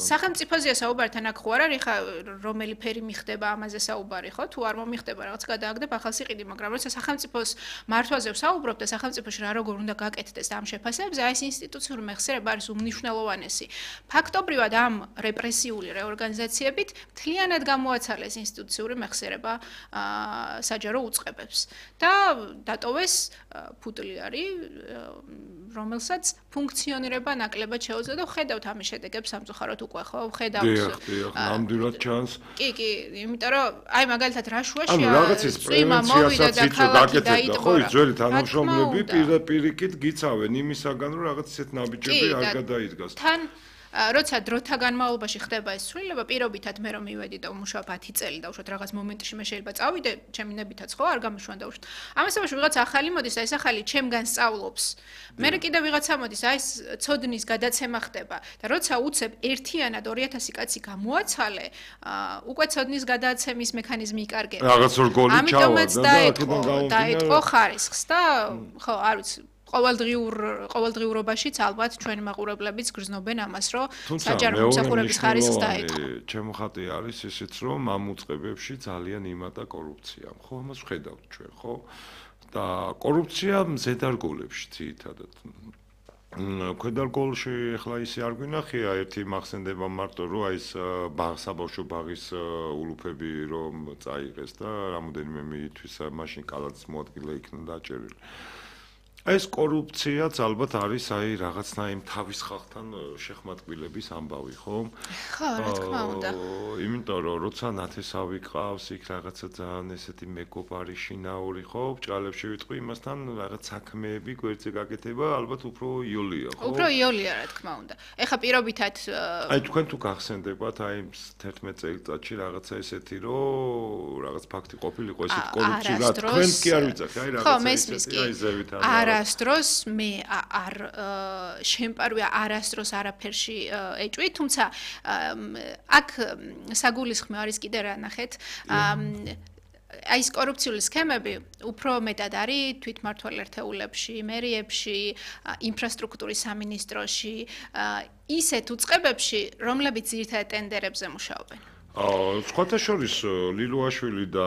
სახელმწიფოზეა საუბარი თან აქ ხო არ არის ხა რომელი ფერი მიხდება ამაზე საუბარი ხო თუ არ მომიხდება რაღაც გადააგდებ ახალ სიყიდი მაგრამ როცა სახელმწიფოს მართვაზე ვსაუბრობ და სახელმწიფოში რა როგორ უნდა გაკეთდეს ამ შეფასებებზე აი ეს ინსტიტუციური მეხსიერება არის უმნიშვნელოვანესი ფაქტობრივად ამ რეპრესიული რეორგანიზაციებით მთლიანად გამოაცალეს ინსტიტუციური მეხსიერება საჯარო უწყებებს და დატოვეს ფუტლიარი რომელსაც ფუნქციონირება ნაკლებად შეუძლია და ხედავთ ამის შედეგებს სამწუხაროდ უკვე ხო ხედავთ ნამდვილად ჩანს კი იმიტომ რომ აი მაგალითად რაშუაშია ანუ რაღაცის პრევენციასაც გაკეთებდა ხო ის ძველი თანამშრომლები პირიქით გიცავენ იმისაგან რომ რაღაც ისეთ ნაბიჯები არ გადაიდგას თან როცა დროთა განმავლობაში ხდება ეს ცვლილება პირობითად მე რომ მივედი და ვმუშაობ 10 წელი და უშოთ რაღაც მომენტში მე შეიძლება წავიდე ჩემი ნებითაც ხო არ გამიშვან და უშოთ ამასობაში ვიღაც ახალი მოდის და ეს ახალი ჩემგან სწავლობს მე კიდე ვიღაცა მოდის აი ეს ცოდნის გადაცემა ხდება და როცა უცებ ერთიანად 2000 კაცი გამოაცალე უკვე ცოდნის გადაცემის მექანიზმი იკარგება რაღაც ორ გოლი ჩავა და დაეთყო ხარისხს და ხო არ ვიცი ყოველდღიურობაშიც ალბათ ჩვენი მაყურებლებიც გრძნობენ ამას, რომ საჯარო მომსახურების ხარისხს დაეთყო. ჩემო ხატი არის ისიც, რომ ამ უწყებებში ძალიან იმატა კორუფცია. ხო, ამას ვხედავთ ჩვენ, ხო? და კორუფცია მზედარგოლებში ძირითადად. ქვედარგოლში ახლა ისე არ გვინახია ერთი მახსენდება მარტო რომ აი ეს საბავშვო ბაღის ულუფები რომ წაიღეს და რამოდენიმე მითვის მაშინ კალათის მოადგილე იქნა დაჭერილი. ეს კორუფციაც ალბათ არის აი რაღაცნაირ თავის ხალხთან შეხმატკბილების ამბავი, ხო? ხო, რა თქმა უნდა. იმიტომ რომ როცა ნათესავი ყავს, იქ რაღაცა ძალიან ესეთი მეგობარი შინაური, ხო? ბრჭყალებში ვიტყვი იმასთან რაღაც საქმეები გვერდზე გაკეთება, ალბათ უფრო იოლია, ხო? უფრო იოლია, რა თქმა უნდა. ეხა პირობითად აი თქვენ თუ გახსენდებათ აი 11 წელიწადში რაღაცა ესეთი რომ რაღაც ფაქტი ყოფილიყო ესეთი კორუფცია, რა თქვენ კი არ ვიცახი, აი რაღაცა ესეთი აი ზევით არა არასდროს მე არ შემპარვია არასდროს არაფერში ეჭვი, თუმცა აქ საგულისხმო არის კიდე რა ნახეთ აი ეს კორუფციული სქემები უფრო მეტად არის თვითმმართველ ერთეულებში, მერიებში, ინფრასტრუქტურის სამინისტროში, ისეთ უწყებებში, რომლებიც ძირითადად ტენდერებზე მუშაობენ. სხვათა შორის ლილუაშვილი და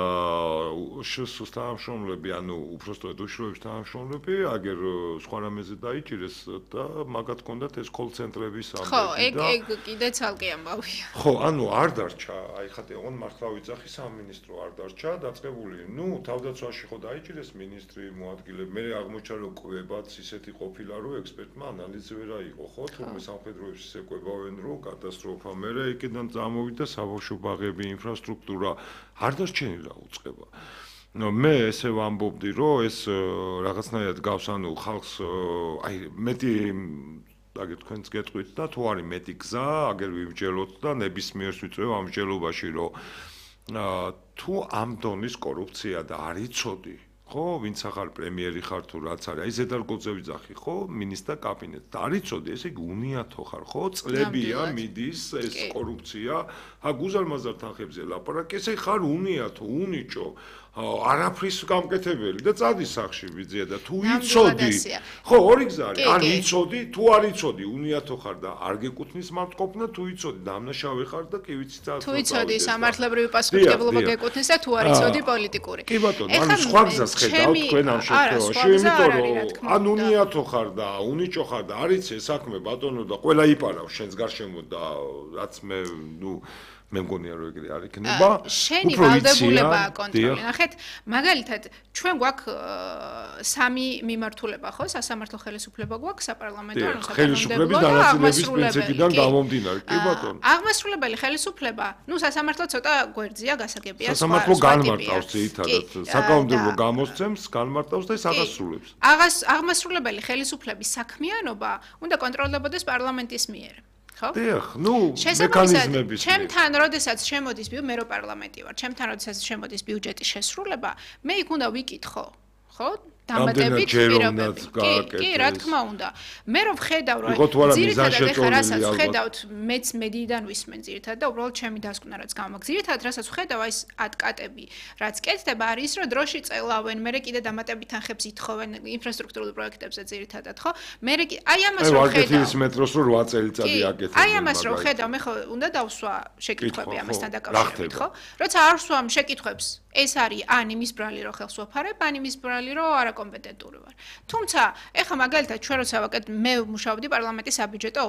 შს თანამშრომლები, ანუ უბრალოდ უშუალოდ თანამშრომლები, აგერ სხვა რამეზე დაიჭირეს და მაგათ ჰქონდათ ეს კოლ-ცენტრების ამბები და ხო, ეგ კიდე ცალკე ამბავია. ხო, ანუ არ დარჩა, აი ხათი ოღონდ მართლა ვიძახი სამინისტრო არ დარჩა, დაწყებული. ნუ თავდაცვაში ხო დაიჭირეს მინისტრი, მოადგილე, მე აღმოჩნდა რომ კვებაც ისეთი ყოფილა რომ ექსპერტმა ანალიზი ვერ აიღო, ხო, თუმცა სამხედროებში ეკويებავენ რომ კატასტროფა მერე იქიდან წამოვიდა საბავშვო ბაღები, ინფრასტრუქტურა არ დარჩენილა უწყება. მე ესე ვამბობდი, რომ ეს რაღაცნაირად გავს ანუ ხალხს აი მეტი აგერ თქვენც გეტყვით და თუ არის მეტი გზა, აგერ ვიმჯელოთ და ნებისმიერს ვიწევ ამ მსჯელობაში, რომ თუ ამ დონის კორუფცია და არ იცოდი ხო, ვინც ახალ პრემიერი ხარ თუ რაც არის, აი ზედარგოძე ვიძახი, ხო, მინისტრთა კაბინეტს. და არ იცოდი, ესე იგი უნიათო ხარ, ხო, წლებია მიდის ეს კორუფცია, გუზარმაზარ თანხებზე ლაპარაკი, ესე ხარ უნიათო, უნიჭო, არაფრის გამკეთებელი და წადი სახში ვიძია და თუ იცოდი, ხო, ორი გზა არის, არ იცოდი, თუ არ იცოდი, უნიათო ხარ და არ გეკუთვნის მართყოფნა, თუ იცოდი, დამნაშავე ხარ და კი ვიცი და თუ იცოდი, სამართლებრივი პასუხისმგებლობა გეკუთვნის და თუ არ იცოდი პოლიტიკური. კი ბატონო, ანუ სხვა გზას ხედავთ თქვენ ამ შემთხვევაში, იმიტომ რომ ან უნიათო ხარ და უნიჭო ხარ და არ იცი საქმე ბატონო და ყველა იპარავს შენს გარშემო და რაც მე ნუ მე მგონია რომ ეგრე არ იქნება. შენი ვალდებულებაა კონტროლი. ნახეთ, მაგალითად, ჩვენ გვაქვს სამი მიმართულება, ხო? სასამართლო ხელისუფლება გვაქვს, საპარლამენტო, ანუ ხელისუფლების დანაწილების პრინციპიდან გამომდინარე. კი ბატონო. აღმასრულებელი ხელისუფლება, ნუ სასამართლო ცოტა გვერდზია, გასაგებია. სასამართლო განმარტავს ძირითადად. საკანონმდებლო გამოსცემს, განმარტავს და ის აღასრულებს. აღმასრულებელი ხელისუფლების საქმიანობა უნდა კონტროლდებოდეს პარლამენტის მიერ. ხო? დიახ, ნუ მექანიზმების. ჩემთან როდესაც შემოდის მე რო პარლამენტი ვარ, ჩემთან როდესაც შემოდის ბიუჯეტის შესრულება, მე იქ უნდა ვიკითხო, ხო? დამატებით ჯეროვნად კი, გააკეთეს. რა თქმა უნდა. მე რომ ხედავ, რომ იყო თუ არა ძირითადად ეხლა მიზანშეწონილი რასაც ალბათ. ხედავთ, მეც მედიიდან ვისმენ ძირითადად და უბრალოდ ჩემი დასკვნა რაც გამაქვს. ძირითადად რასაც ხედავ, აი ეს ატკატები, რაც კეთდება არის ის, რომ დროში წელავენ, მე კიდე დამატებით თანხებს ითხოვენ ინფრასტრუქტურულ პროექტებზე ძირითადად, ხო? მე აი ამას რომ ხედავ. ვარკეთილის მეტროს რო 8 წელიწადი აკეთებდნენ. აი ამას რომ ხედავ, მე ხო უნდა დავსვა შეკითხვები ამასთან დაკავშირებით, ხო? როცა არ ვსვამ შეკითხვებს, ეს არის ან იმის ბრალი რომ ხელს ვაფარებ, ან იმის ბრალი რომ არაკომპეტენტური ვარ. თუმცა, ეხლა მაგალითად ჩვენ როცა მე მუშაობდი პარლამენტის საბიუჯეტო